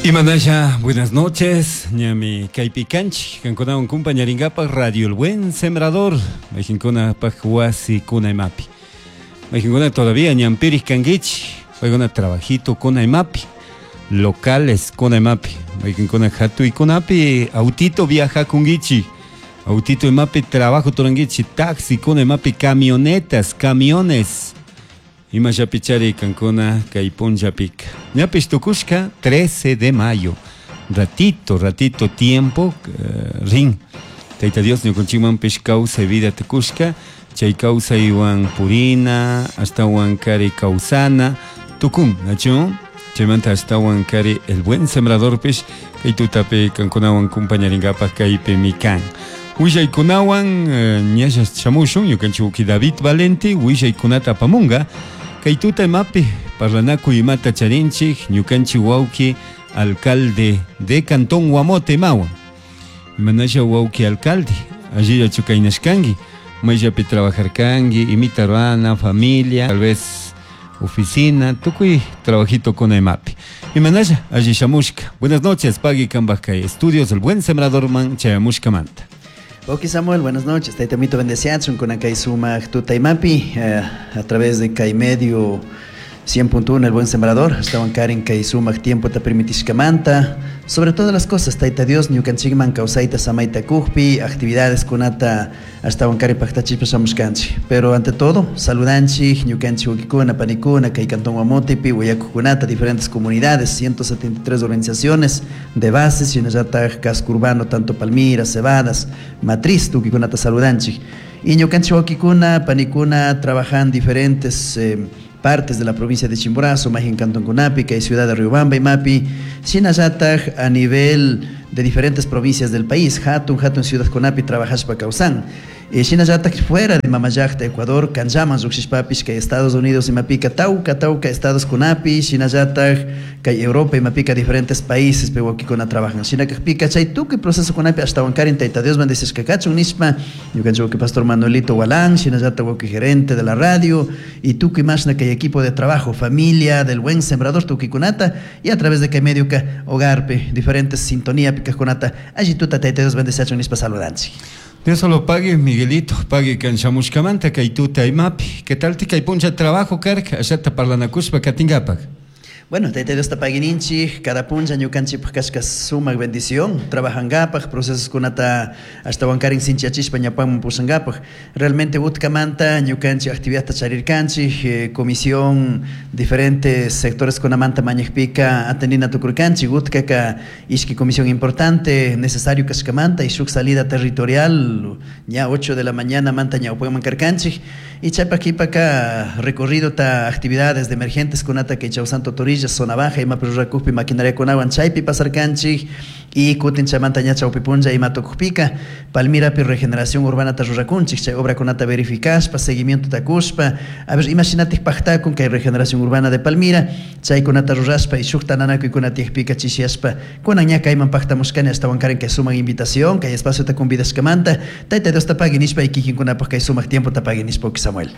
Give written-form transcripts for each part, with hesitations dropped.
Imanasha, buenas noches. Ñami kaypi kanchik, kankunawan kumpañarinkapak Radio El Buen Sembrador. Mayqinkunapak wasi kuna imapi. Mayqinkuna todavía ñanpirik kankichik. Paykuna trabajito kuna imapi. Locales kuna imapi. Mayqinkuna hatuykunapi autito viajakunkichik. Autito imapi trabajo turankichik. Taxi kuna imapi camionetas, camiones. Imashapichari kankuna kay punllapika. Ñapish tukushka 13 de mayo. Ratito, ratito tiempo rin. Tayta Dios ñukanchikmanpish kawsay vida tukushka. Chay kawsaywan purina, ashtawan kari kawsana tukun, nachu? Chaymanta ashtawan kari El Buen Sembradorpish kay tutapi kankunawan kumpañarinkapak kaypimi kan. Willaykunawan ñalla shamushun ñukanchik wawki David Valente willaykunata apamunga. Kay tuta imapi parlanakuy imata charinchik ñukanchik wawki alcalde de Cantón Guamote imawan. Imanasha wawki alcalde, allillachu kaynashkanki, mayllapi trabajarkanki, imita rurana, familia, tal vez oficina, tukuy trabajito kuna imapi. Imanasha, alli shamushka. Buenas noches, pagui kanpak kay estudios El Buen Sembrador man chayamushkamanta. Ok, Samuel, buenas noches. Tayta bendeciachun con kay sumak tutaymapi a través de kay medio 100.1 El Buen Sembrador. Estaban karen kay sumak tiempo ta permitishkamanta. Sobre todas las cosas, Tayta Dios, ñukanchikman kawsayta samayta kujpi, actividades kunata ashtawan kari paktachishpa shamushkanchik. Pero ante todo, saludanchik, ñukanchik wawkikuna, panikuna, kay Cantón Guamotepi, willakuqkunata, diferentes comunidades, 173 organizaciones de bases, shinallataj casco urbano, tanto Palmira, Cebadas, Matriz, tukuykunata saludanchik. Y ñukanchik wawkikuna, panikuna, trabajan diferentes partes de la provincia de Chimborazo, Majin Cantón Kunapi, kay ciudad de Riobamba y Mapi, shinallataj a nivel de diferentes provincias del país, Hatun, Hatun Ciudad Kunapi, trabajashpa kawsan. Shinallataj fuera de Mamallakta, Ecuador, Kanllaman lluqshishpapish, kay Estados Unidos imapika, tawka, tawka Estados Kunapi, shinallataj kay Europa imapika diferentes países pe wawkikuna trabajan. Shinakajpika chay tukuy proceso kunapi ashtawan karin Tayta Dios bendecishka kachun nishpa, ñukanchik wawki Pastor Manuelito Walán, shinallataj wawki gerente de la radio, y tukuy mashna kay equipo de trabajo, familia del Buen Sembrador tukuykunata, y a través de kay medio ka hogarpe, diferentes sintonía pikajkunata, alli tuta Tayta Dios bendeciachun nishpa saludanchik. Dios solo pague, Miguelito, pague kanshamushkamanta kay tuta imapi. ¿Qué tal ti kay puncha trabajo karka? Ashata parlanakushpa katinkapak. Bueno, Tayta Dios ta paguininchik, cada puncha ñukanchikpaj kashka sumak bendición, trabajankapaj, procesos kunata ashtawan karin sinchiachishpa ñapanman pushankapaj. Realmente utkamanta ñukanchik actividadta charirkanchik, comisión, diferentes sectores kunamanta mañajpika atendina tukurkanchik, utkaka ishki comisión importante, necesario kashkamanta, y shuk salida territorial, ña 8 de la mañana manta ñawpaman karkanchik, y chaypak kipaka recorrido ta actividades de emergentes kunata kay Chausanto Torilla, zona baja, ima rurakuqpi maquinaria kunawan chaypi pasarkanchik, y kutin chaymanta ña chawpi punlla ima tukujpika, Palmirapi regeneración urbana ta rurakunchik, chay obra kunata verificashpa, seguimiento takushpa, a ver, imaginatik pajtakun kay regeneración urbana de Palmira, chay kunata rurashpa y shuk tananakuykuna tiyakpika chishiashpa, kunan ña kayman pajtamushkani ashtawan karin kay sumak invitación, kay espacio ta convidashkamanta, Tayta Dios ta pagui nishpa y kikinkunapaj kay sumak tiempo ta pagui nishpa, Samuel.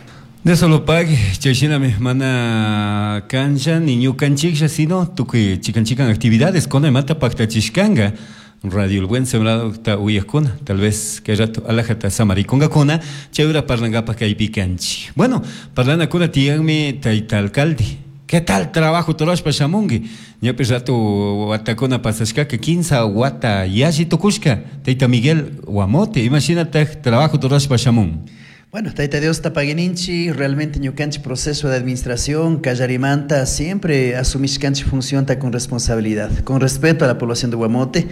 De solo pague, chayshinami mana kancha ni ñukanchiklla, sino tukuy chikan chikan actividades kuna imata paktachishkanga. Radio El Buen Sembrador ta uyajkuna, tal vez kay rato alajata samarikunkakuna, chay hora parlankapaj kaypi kanchik. Bueno, parlanakuna tiyanmi tayta alcalde. ¿Qué tal trabajo turashpa shamunki? Ñapish rato watakuna pasashkaka, 15 wata yalli tukushka, tayta Miguel Guamote, imashinataj trabajo turashpa shamun? Bueno, Tayta Dios tapaguininchi, realmente ñukanchik proceso de administración, kallarimanta, siempre asumishkanchik función ta con responsabilidad, con respeto a la población de Guamote,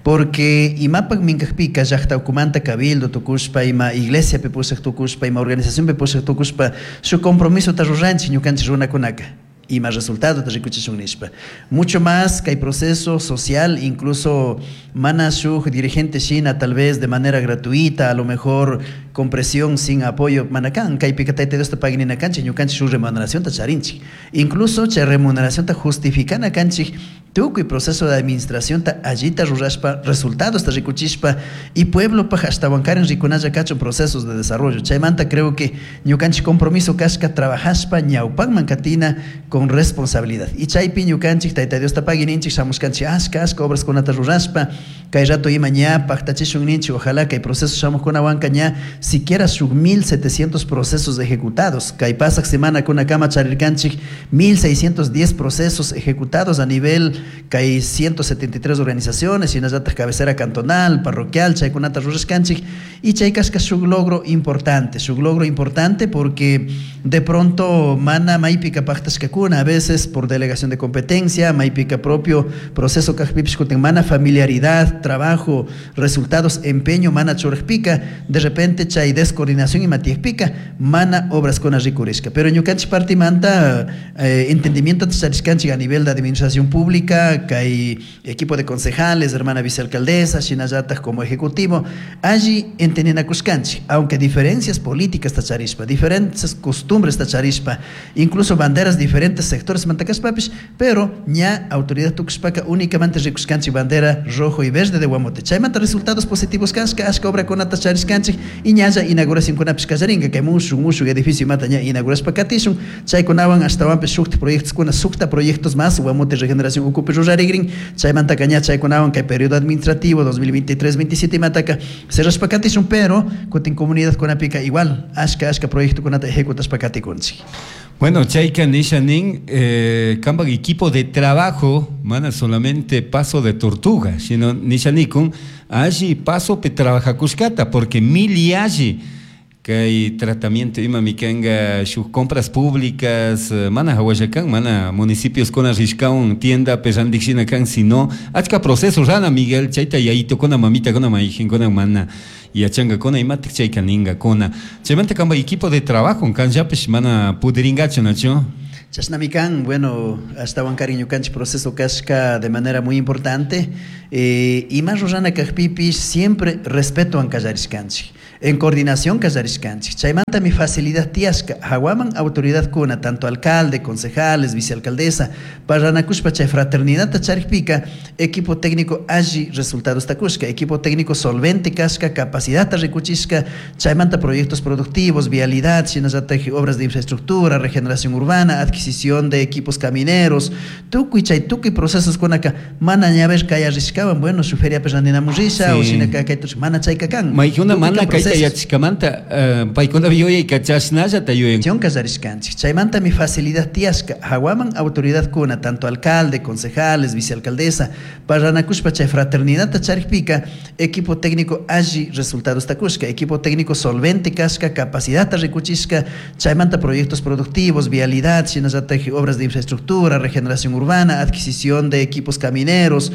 porque imapak minkajpika llaqta ukumanta cabildo tukushpa, ima iglesia pepushaq tukushpa, ima organización pepushaq tukushpa, su compromiso ta ruranchik ñukanchik runakunaka. Ima resultado ta rikuchishun nishpa. Mucho más que hay proceso social, incluso mana shuj dirigente shina tal vez de manera gratuita, a lo mejor con presión, sin apoyo, manakan, kaypika Tayta Dios ta paginina kanchik, ñukanchik shuj remuneración ta charinchik. Incluso chay remuneración ta justificana kanchik, Tukuy proceso de administración ta allita rurashpa, resultados ta rikuchishpa y pueblo paj ashtawankarin rikunalla kachun procesos de desarrollo. Chaymanta creo que ñukanchik compromiso kashka trabajashpa ñawpakman katina con responsabilidad. Y chaypi ñukanchik Tayta Diosta pagui ninchik shamushkanchik ashka ashka obraskunata rurashpa, kay rato ima ña paktachishun ninchik, ojalá kay proceso shamuqkunawanka ña siquiera shuk 1700 procesos ejecutados. Kay pasaq semana kunakama charirkanchik 1610 procesos ejecutados a nivel kay 173 organizaciones, shinallatak cabecera cantonal, parroquial, chaykunata rurashkanchik. Y chay kashka shuk logro importante, shuk logro importante porque de pronto mana maypika paktashkakuna, a veces por delegación de competencia, maypika propio proceso kajpipish kutin mana familiaridad, trabajo, resultados, empeño, mana churajpika, de repente chay descoordinación ima tiyakpika, mana obraskuna rikurishka. Pero ñukanchik partimanta entendimiento charishkanchik a nivel de administración pública, kay equipo de concejales, hermana vicealcaldesa, shinallatak como ejecutivo, allí entendinakushkanchik, aunque diferencias políticas tacharishpa, diferentes costumbres tacharishpa, incluso banderas diferentes sectores mantakashpapish, pero ña autoridad tukushpaka únicamente rikushkanchik bandera rojo y verde de Guamote. Chaymanta resultados positivos kashka, ashka obrakunata charishkanchik y ñalla inauguración kunapish kallarinka, kay mushuk, mushuk edificio mata ña inaugurashpa katishun, chaykunawan ashtawanpish shukta proyectos kuna, sukta proyectos más Guamote Regeneración ukupi rurarigrin, chaymantaka ña chaykunawan kay periodo administrativo 2023-27 imataka cerrashpa katishun, pero kutin comunidad kunapika igual ashka ashka proyecto kunata ejecutashpa katikunchik. Bueno, chayka nisha nin, kambak equipo de trabajo, mana solamente paso de tortuga, sino nisha nikun, alli paso pe trabajakushkata, porque mil y alli kay tratamiento ima mikanga shuk compras públicas, mana hawallakan, mana municipios kuna rishkaun tienda pe kan, sino achka proceso rana Miguel, chayta yayito kuna mamita kuna maijin mana yachanga kuna imatik chayka ninga kuna. Chaymanta kamba equipo de trabajo kanllapish mana pudiringachu nacho. Chashnami kan, bueno, ashtawankarin ñukanchik proceso kashka de manera muy importante, ima rurana kajpipish siempre respeto an kallarishkanchik, en coordinación kallarishkanchik. Chaymanta mi facilidad tiyashka, hawaman autoridad kuna, tanto alcalde, concejales, vicealcaldesa, parranakushpa chay fraternidad charikpika, equipo técnico alli resultados takushka, equipo técnico solvente kashka, capacidad rikuchishka, chaymanta proyectos productivos, vialidad, shinallatak obras de infraestructura, regeneración urbana, adquisición de equipos camineros, tukuy chay tukuy procesos kunaka, mana ñaver kaya rishkawan, bueno, su feria perrandinamun risha, o shinaka kaytush, mana chayka kan. Maykuna mana kayta yachishkamanta, paykuna yuyay kachashnallata yuyan. Kallarishkanchik. Chaymanta mi facilidad tiyashka, hawaman autoridad kuna, tanto alcalde, concejales, vicealcaldesa, parranakushpa chay fraternidad charikpika, equipo técnico alli resultados takushka, equipo técnico solvente kashka, capacidad rikuchishka, chaymanta proyectos productivos, vialidad, shinallatak obras de infraestructura, regeneración urbana, adquisición de equipos camineros,